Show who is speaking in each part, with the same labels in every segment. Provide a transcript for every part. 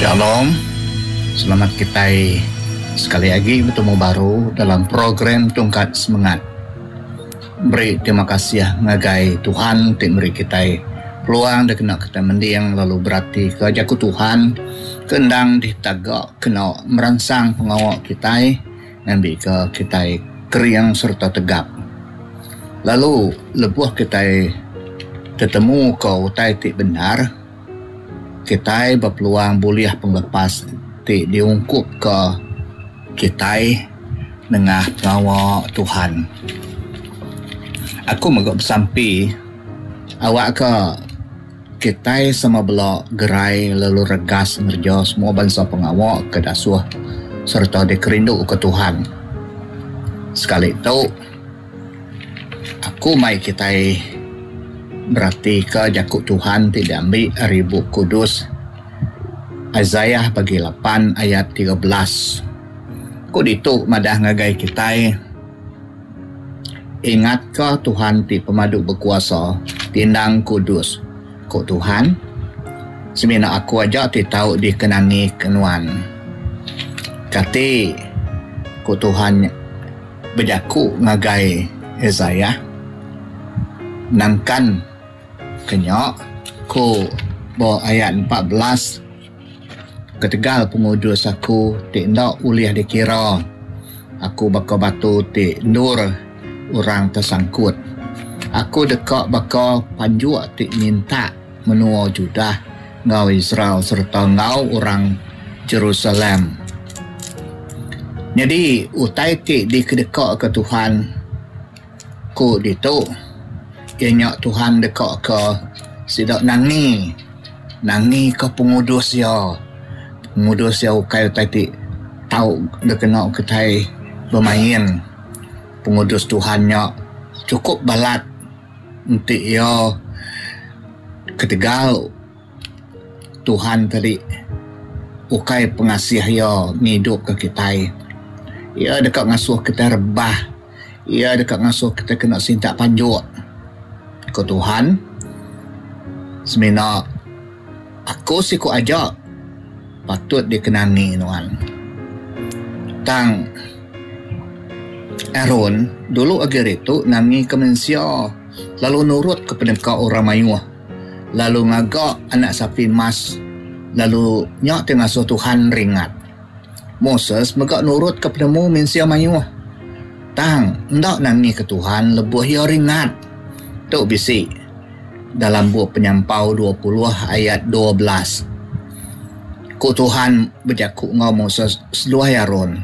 Speaker 1: Shalom. Selamat kitai sekali agi betemu baru dalam program Tungkat Semengat. Beri terima kasih ngagai Tuhan ti meri kitai peluang dikena kitai mending lalu beratika jaku Tuhan ke endang ditaga kena meransang pengawa kitai ngambika kitai kering sereta tegap. Lalu lebuh kitai tetemuka utai ti bendar, kitai bepeluang bulih pengelepas ti diungkupka kitai nengah pengawa Tuhan. Aku mega besampi awakka Kitai sama bela gerai lalu regas ngereja semua bansa pengawa ke dasuh sereta dikerinduka Tuhan. Sekali tu, aku mai kitai beratika jaku Tuhan ti diambi ari Bup Kudus Isaiah bagi lapan ayat 13. Ku ditu madah ngagai kitai. Ingatka Tuhan ti Pemadu Bekuasa, ti endang kudus, ku Tuhan, Semina Aku aja ti tau dikenangika nuan. Kati ku Tuhan bejaku ngagai Isaiah, Nangkan ke nya, ku ba ayat 14, Ketegal pengudus aku ti enda ulih dikira, aku baka batu ti endur orang tesangkut. Aku deka baka panjuk ti nyintak menua Judah enggau Israel sereta enggau orang Jerusalem. Nyadi utai ti dikedekaka Tuhan ku ditu iya nya Tuhan dekaka sida nangi. Nangika pengudus iya. Pengudus iya ukai utai ti tau dikena kitai bemain. Pengudus Tuhan nya chukup balat enti iya ketegal Tuhan tadi ukai pengasih iya ngidupka kitai. Iya deka ngasuh kitai rebah. Iya deka ngasuh kitai kena sintak panjuk, ku Tuhan. Semina Aku siku aja patut dikenangi nuan. Tang Aron dulu agi ari tu nangika mensia lalu nurutka peneka orang mayuh lalu ngaga anak sapi emas lalu nya ti ngasuh Tuhan ringat. Moses mega nurutka penemu mensia mayuh. Tang, enda nangika Tuhan lebuh iya ringat. Tu bisi dalam bup Penyampau 20 ayat 12. Ku Tuhan bejaku enggau Moses seduai Aron,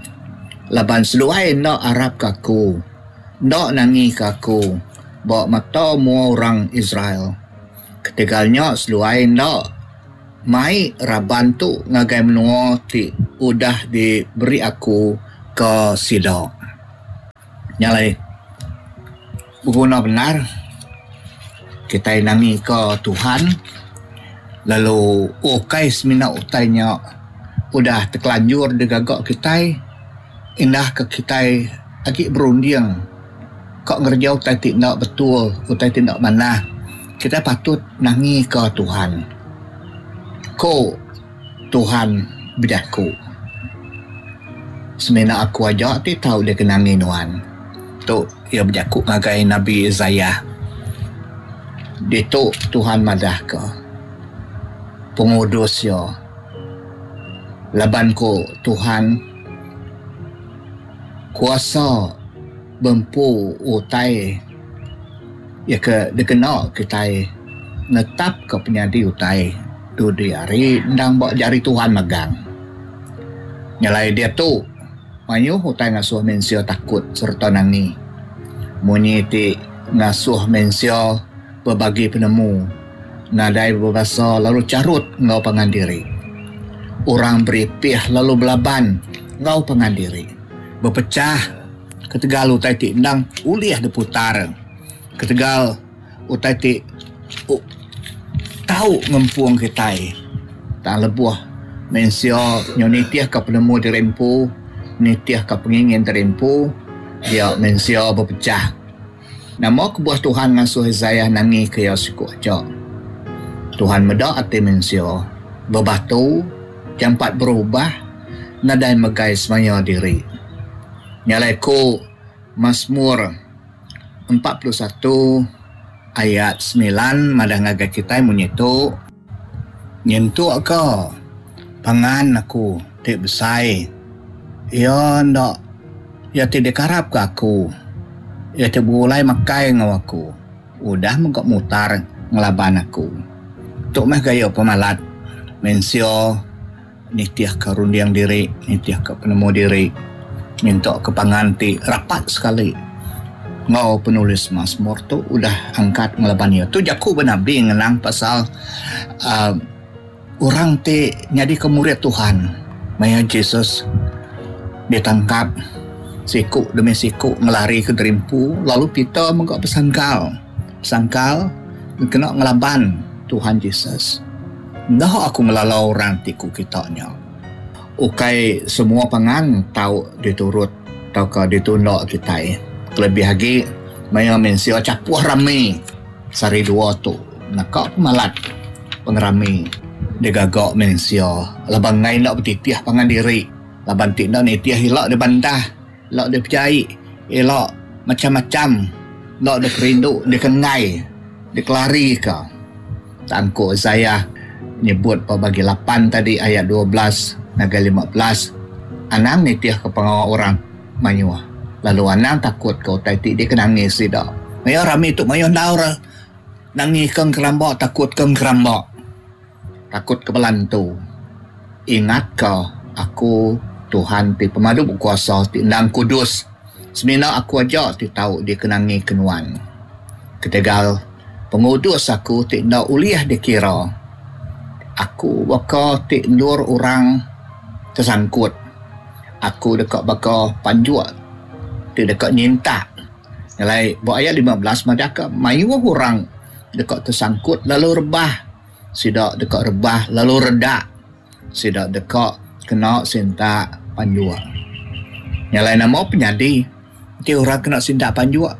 Speaker 1: Laban seduai enda arapka Aku, enda nangika Aku ba mata mua orang Israel. Ketegal nya seduai enda Mai raban tu ngagai menua ti udah diberi Aku ke sida. Nya alai, beguna bendar kitai nangika Tuhan lalu ukai semina utai nya udah tekelanjur digaga kitai indah ke kitai agi berunding ka ngereja utai ti enda betul, utai ti enda manah. Kitai patut nangika Tuhan. Ku Tuhan bejaku, Semina Aku aja ti tau dikenangi nuan. Tu iya bejaku ngagai Nabi Isaiah. Ditu Tuhan madahka pengudus Iya. Laban ku Tuhan, kuasa bempu utai. Iya ke dikena kitai netapka penyadi utai dudi hari endang ba jari Tuhan magang. Nyelai diatu, mayuh utai ngasuh mensia takut sereta nangi. Munyi ti ngasuh mensia bebagi penemu, nadai bebasa lalu charut enggau pangan diri. Orang beripih lalu belaban enggau pangan diri, bepechah. Ketegal utai ti endang ulih diputar ketegal utai ti tau ngempung kitai tang lebuh mensia nyau nitihka penemu diri empu nitihka pengingin diri empu dia mensia bepechah. Nama kebuah Tuhan ngasuh Isaiah nangika iya siku aja? Tuhan meda ati mensia bebatu. Jampat berubah nadai megai semaya diri. Nya alai ku Masmur 41 ayat semilan madah ngagai kitai munyi tu, Nyentuk ka pangan aku ti besai iya enda iya ti dikarapka aku iya ti begulai makai enggau aku udah mega mutar ngelaban aku. Tu meh gaya pemalat mensia nitihka runding diri, nitihka penemu diri minta ke pangan ti rapat sekali enggau penulis Masmur tu udah angkat ngelaban iya. Tu jaku benabi ngenang pasal uhh orang ti nyadika murid Tuhan maya Jesus ditangkap siku demi siku ngelarika diri empu lalu Peter mega besangkal besangkal kena ngelaban Tuhan Jesus. Enda aku ngelala orang ti ku kita nya. Ukai semua pangan tau diturut tauka ditunda kitai kelebih agi maya mensia chapuh rami sehari dua tu naka pemalat pengerami digaga mensia laban enggai enda betitih pangan diri laban ti enda nitih ila dibantah ila dipejai ila macam-macam enda dikerindu dikenggai dikelarika. Tang ku Isaiah nyebut ba bagi lapan tadi ayat 12 ngagai 15, Anang nitihka pengawa orang mayuh, lalu anang takutka utai ti dikenangi sida. Maya rami tu mayuh endaur nangika engkeramba takutka engkeramba, takutka bala entu. Ingatka Aku Tuhan ti Pemadu Bekuasa ti endang kudus, semina Aku aja ti tau dikenangika nuan. Ketegal Pengudus aku ti enda ulih dikira. Aku baka ti endur orang tesangkut. Aku deka baka panjuk ti deka nyintak. Nyelai ba ayat 15 madahka mayuh orang deka tesangkut lalu rebah. Sida deka rebah lalu redak. Sida deka kena sintak panjuk. Nyelai nama penyadi enti orang kena sintak panjuk?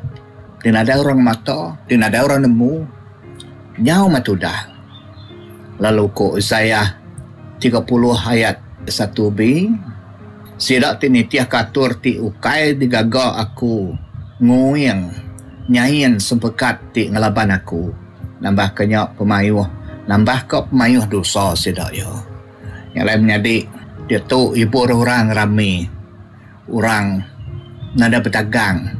Speaker 1: Ti nadai orang mata, ti nadai orang nemu, nyau meh tudah. Lalu ku Isaiah 30 ayat 1b, Sida ti nitihka atur ti ukai digaga Aku nguing nyain sempekat ti ngelaban Aku, nambahka nya pemayuh nambahka pemayuh dosa sida iya. Nya alai menyadi diatu ibur orang rami. Orang nadai betagang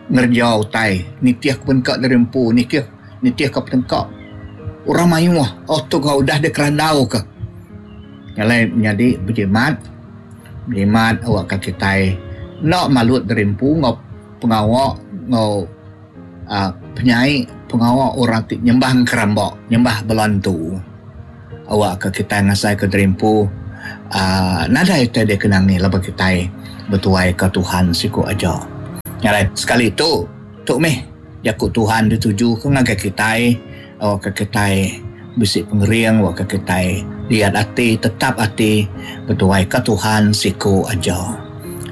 Speaker 1: ngereja utai nitih ke peneka diri empu nitih nitih ke peneka orang mayuh oh tu ga udah dikerandau ka. Alai menyadi bejimat bejimat awak ka kitai enda malut diri empu enggau pengawa enggau uhh penyai pengawa orang ti nyembah engkeramba nyembah bala entu. Awakka kitai ngasaika diri empu uhh nadai utai dikenangi laban kitai betuaika Tuhan siku aja. Nya alai sekali tu, tu mih jaku Tuhan ditujuka ngagai kitai awakka kitai bisi pengering awakka kitai liat ati tetap ati betuaika Tuhan siku aja.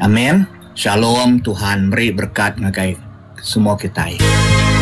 Speaker 1: Amin. Shalom Tuhan meri berekat ngagai semua kitai.